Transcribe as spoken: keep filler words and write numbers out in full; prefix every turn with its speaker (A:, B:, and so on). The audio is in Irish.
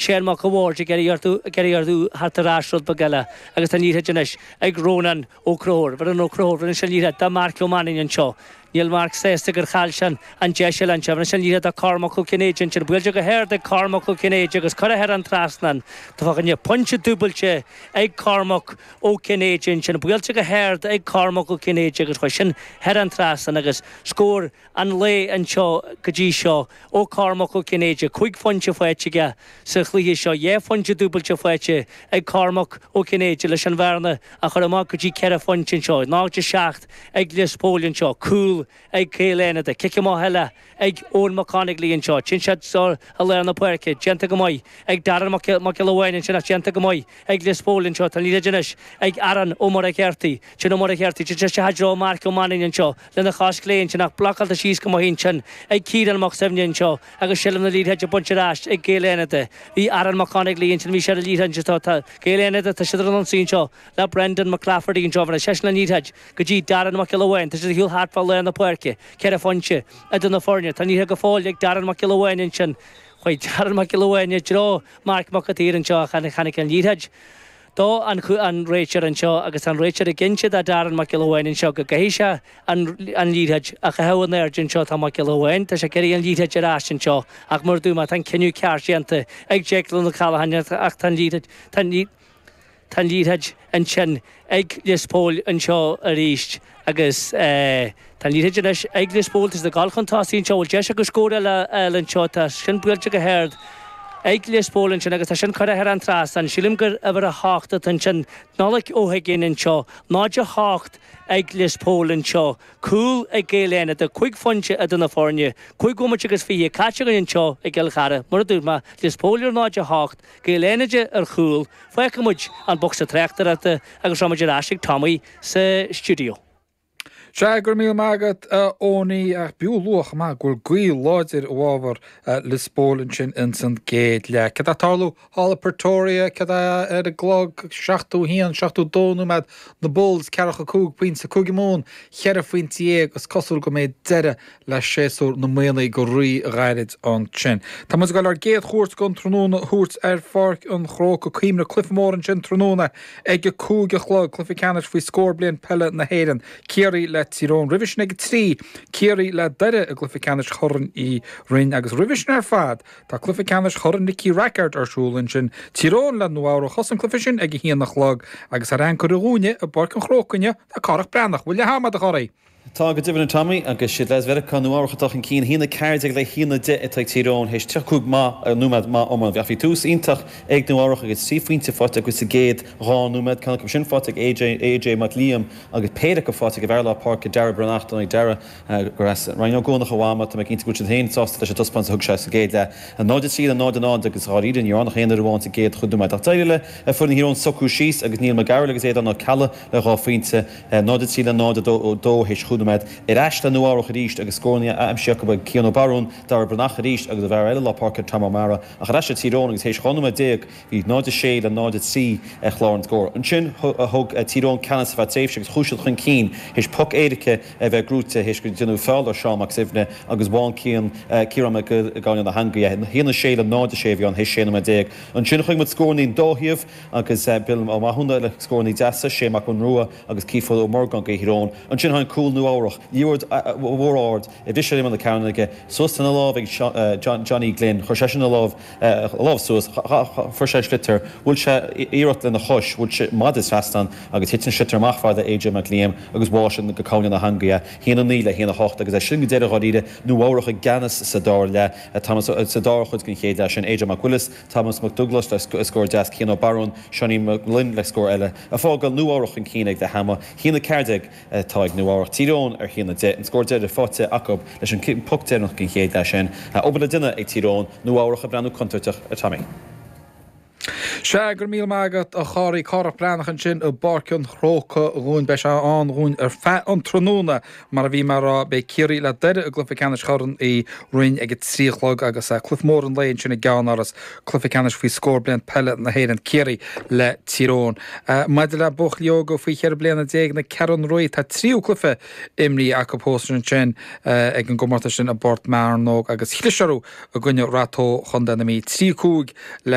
A: Shane Mac a' Bhaird ag iarraidh orthu ag iarraidh orthu theacht ar ais rud beag eile agus tá an liathróid anois ag Rónán Ó Conchúir. Rónán Ó Conchúir, rinne sé an liathróid do Mark Ó Mainnín anseo. Níl Mark sásta gur chaill sé an deis eile anseo. Rinne sé an liathróid do Cormac Ó Cinnéide ansin. Buailte go hard ag Cormac Ó Cinnéide agus curtha thar an trasnán. Tá fá choinne pointe dúbailte ag Cormac Ó Cinnéide ansin. Buailte go hard ag Cormac Ó Cinnéide agus chuaigh sin thar an trasnán agus scór an lae anseo go dtí seo ó Cormac Ó Cinnéide. Cúig phointe faighte aige sa chluiche seo. Dhá phointe dúbailte faighte ag Cormac Ó Cinnéide leis an bhearna a chur amach go dtí ceithre phointe anseo. Náid a seacht ag Lios Póil anseo. Cúl ag Gaeil Fhánada. Cic amach eile ag Eoin Mac Conaglaí anseo. Téann siad i lár na páirce. Déanta go maith ag Darren Mac Giolla Bháin ansin ach déanta go maith ag Lios Póil anseo. Tá an liathróid anois ag Aaron Ó Muircheartaigh. Sin Ó Muircheartaigh. Téann sé isteach i dtreo Mark Ó Mainnín anseo lena chos chlé ansin ach blocáilte síos go maith ansin ag Ciarán Mac Suibhne anseo agus seilbh na liathróide á baint ar ais ag Gaeil Fhánada. Bhí Aaron Mac Conaglaí ansin bhí sé ar an liathróid anseo. Tá Gaeil Fhánada tá siad ar an ionsaí anseo le Brendan McClafferty anseo. Bhí seisean an liathróid go dtí Darren Mac Giolla Bháin. Tá siad ar shiúl thart fá lár na páirce. Ceithre phointe idir na foirne. Tá an liathróid go fóill ag Darren Mac Giolla Bháin ansin. Chuaigh Darren Mac Giolla Bháin i dtreo Mark Mac an tSaoir anseo ach tháinig an liathróid do an an réiteoir anseo agus an réiteoir ag inse do Darren Mac Giolla Bháin anseo go gcaithfidh sé an an liathróid a chaitheamh in airde anseo tá Mac Giolla Bháin tá sé ag iarraidh an liathróid ar ais anseo ach mar dúirt mé tá an cinneadh ceart déanta ag Declan O'Callaghan ach tá an liathróid tá an tá an liathróid ansin ag Lios Póil anseo arís agus tá an liathróid anois ag Lios Póil tá siad ag dul chun tosaigh anseo bhfuil deis acu scór eile eile anseo tá sin buailte go hard ag Lios Póil ansin agus tá sin curtha thar an trasnán. Sílim gur uimhir a hocht atá ansin Nollaig Ó hUiginn anseo, náid a hocht ag Lios Póil anseo, cúl ag Gaeil Fhánada, cúig phointe idir na foirne, cúig bhomaite agus fiche caite againn anseo i gCill Chartha. Mar a dúirt mé, Lios Póil ar náid a hocht, Gaeil Fhánada ar chúl, fágfaidh muid an bocsa tráchtaireachta agus rachaidh muid ar ais ag Tommy sa stiúideo.
B: Sea, go raibh míle maith agat a Eoiní, ach b'fhiú a lua chomh maith go bhfuil gaoth láidir i bhfabhar Lios Póil ansin ins an gcéad leath. Céard atá ag tarlú thall i Pretoria, céard é ar an gclog, seachtó haon, seachtó dó nóiméad, na Bulls ceathracha cúig pointe, Cúige Mumhan cheithre phointe dhéag, is cosúil go mbeidh deireadh le séasúr na Muimhnigh go rí-ghairid ansin. Tá muid ag dul ár gcéad chuairt den tráthnóna a thabhairt ar Pháirc an Chrócaigh. Cuimhnigh, cluiche mór ansin tráthnóna ag a cúig a chlog, cluiche ceannais faoi scór bliain peile na hÉireann, Ciarraí le Tír Eoghain. Roimhe sin ag a trí, Ciarraí le Doire i gcluiche ceannais Chorn Uí Rinn agus roimhe sin ar fad tá cluiche ceannais Chorn Nicky Rackard ar siúl ansin, Tír Eoghain le Nua Eabhrac. Thosaigh an cluiche sin ag a haon a chlog agus ar anchor dhúinne i bPáirc an Chrócaigh inniu tá Cárthach Breathnach. Bhfuil leath ama agat a Chárthaigh?
C: Tá go deimhin a Tommy, agus siad leaids Mheiriceá Nua Eabhrac atá chun cinn, a haon a ceathair déag le haon a deich atá ag Tír Eoghain théis tríocha cúig maith nóiméad maith iomána. Ach bhí tús iontach ag Nua Eabhrac agus trí phointe faighte acu sa gcéad dhá nóiméad, ceann acu sin faighte ag AJ AJ Mac Liam agus péire acu faighte ag an bhfear lár páirce Darragh Breathnach. Dar ndóigh Darragh gur as Rinn Ó gCuanach a mhama, tá mé cinnte go bhfuil siad féin sásta leis an taispeántas a thug sé sa gcéad leath. náid a trí le náid a náid agus dháiríre níor fhan ach aon fhoireann amháin sa gcéad chúig nóiméad. Ach d'éirigh le foireann Thír Eoghain socrú síos agus Niall McGarrell agus Aodán Ó Ceallaigh le dhá phointe, náid a trí le náid a dó théis chúig nóiméad. Ar ais le Nua Eabhrac arís agus scóranna aimsithe acu ag Cian Ó Barún, Darragh Breathnach arís agus an bhfear eile lár páirce Tom O'Mara. Ach ar ais le Tír Eoghain agus théis dhá nóiméad déag bhí náid a sé le náid a trí ar chlár an scóir. Ansin thóg Tír Eoghain ceannas ar feadh tréimhse agus chuaigh siad chun cinn théis poc éirice a bheith gnóite théis go ndeineadh feall ar Seán Mac Suibhne agus bhain Cian Ciarán Mac Gabhann lena theangaidh é. a haon a sé le náid a sé a bhí ann théis sé nóiméad déag. Ansin chonaic muid scóranna ón dá thaobh agus Bill Ó Mathúna le scóranna deasa, Shane Mac Conrua agus Keith Ó Morgan do Thír Eoghain. Ansin tháinig cúl Nua Eabhrach, liathróid mhór ard a bhris ar imeall na cearnóige, suas lena lámh ag Johnny Glynn, chuir seisean a lámh a lámh suas, fuair sé an sliotar, bhuail sé iarracht lena chois, bhuail sé maide trasnán agus thit an sliotar amach fad le AJ Mac Liam agus bháigh sin go cúinne na heangaí é. haon a naoi le haon a hocht agus é sin go deireadh dháiríre, Nua Eabhrach i gceannas sa dara leath, sa dara chuid den chéad leath sin, AJ Mac Willis, Thomas Mac Dubhghlas le scór deas, Cian Ó Barún, Seánie Mac Gloinn le scór eile, ag fágáil Nua Eabhrach chun cinn ag leath ama, haon a ceathair déag atá ag Nua Eabhrach. Tír Eoghain ar haon a deich, an scór deiridh faighte acu leis an poc deireanach den chéad leath sin. Obair le déanamh ag Tír Eoghain, Nua Eabhrach ag breathnú contúirteach a Tommy.
B: Sea, go raibh míle maith agat a Chárthaigh. Cárthach Breathnach ansin i bPáirc an Chrócaigh dhúinn. Beidh sé ann dhúinn ar feadh an tráthnóna. Mar a bhí mé a rá, beidh Ciarraí le Doire i gcluiche ceannais Chorn Uí Rinn ag a trí a chlog agus cluiche mór an lae ansin i gceannáras, cluiche ceannais faoi scór bliain peile na hÉireann, Ciarraí le Tír Eoghain. Maidir le buachaillí óga faoi cheithre bliana déag na Ceathrún Rua, tá tríú cluiche imrithe acu thuas ansin ag an gcomórtas sin i bPort Mearnóg agus chlis orthu i gcoinne Rath Tó Chontae na Mí, trí cúig le